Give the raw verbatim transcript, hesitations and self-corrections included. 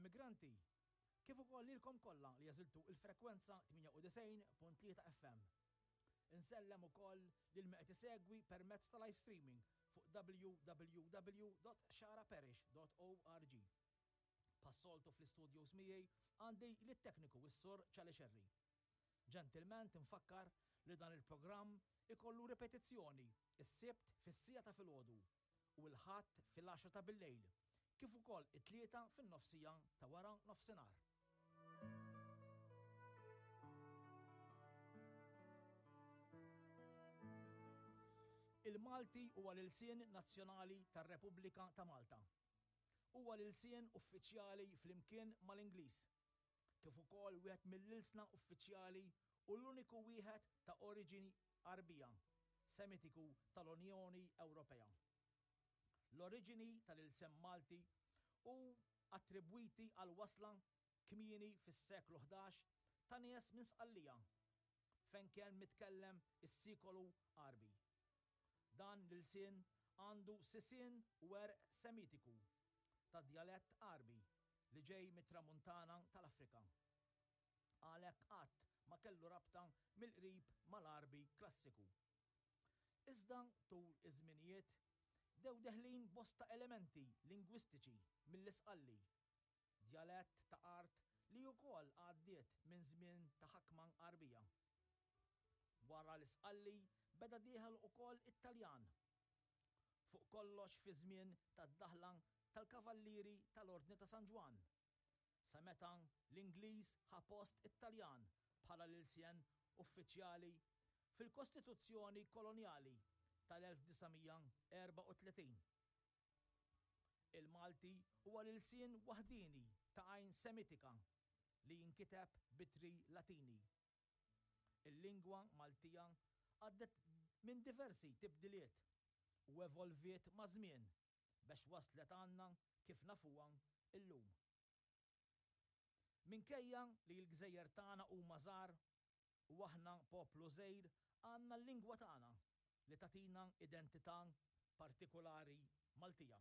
L-emigranti, kif ukoll lilkom kollha li għażiltu il-frekwenza tmienja u disgħin punt tlieta F M. Insellem ukoll lil min qed isegwi permezz ta' live streaming fuq w w w punt xagħraparish punt org. Bħas-soltu, fl-istudios miegħi għandi lit-tekniku, is-Sur Ċali Xerri. Ġentilment infakkar li dan il-programm ikollu ripetizzjoni is-Sibt fis-siegħa ta' filgħodu u l-Ħadd fil-għaxra ta' billejl, kif ukoll it-Tlieta fin-nofsija ta' wara nofsinhar. Il-Malti huwa l-ilsien nazzjonali tar-Repubblika ta' Malta. Huwa l-ilsien uffiċjali flimkien mal-Ingliż, kif ukoll wieħed mill-ilsna uffiċjali u l-uniku wieħed ta' oriġini Għarbija, Semitiku tal-Unjoni Ewropea. L-oriġini tal-ilsien Malti hu attribwiti għal wasla kmieni fis-seklu ħdax ta' nies minn Sqallija, fejn kien mitkellem is-Sikolu Għarbi. Dan l-ilsien għandu sisien u għerq Semitiku ta' djalett Għarbi li ġej mit-tramuntana tal-Afrika. Għalhekk qatt ma kellu rabta mill-qrib mal-Għarbi klassiku. Iżda tul iż-żminijiet bdew deħlin bosta elementi lingwistiċi mill-Isqalli, djalett ta' art li wkoll għaddiet minn żmien ta' ħakma Għarbija. Wara l-Isqalli beda dieħel ukoll it-Taljan. Fuq kollox fi żmien tad-daħla tal-Kavallieri tal-Ordni ta' San Ġwann. Sa meta l-Ingliż ħa post it-Taljan bħala l-ilsien uffiċjali fil-Kostituzzjoni Kolonjali tal-elf disa' mija erbgħa u tletin. Il-Malti huwa l-ilsien waħdini ta' għajn Semitika li jinkiteb b'ittri Latini. Il-lingwa Maltija għaddet minn diversi tibdiliet u evolviet ma' żmien biex waslet għandna kif nafuha illum. Minkejja li l-gżejjer tagħna huma żgħar u aħna poplu żgħir, għandna l-lingwa tagħna li tagħtina identità partikolari Maltija.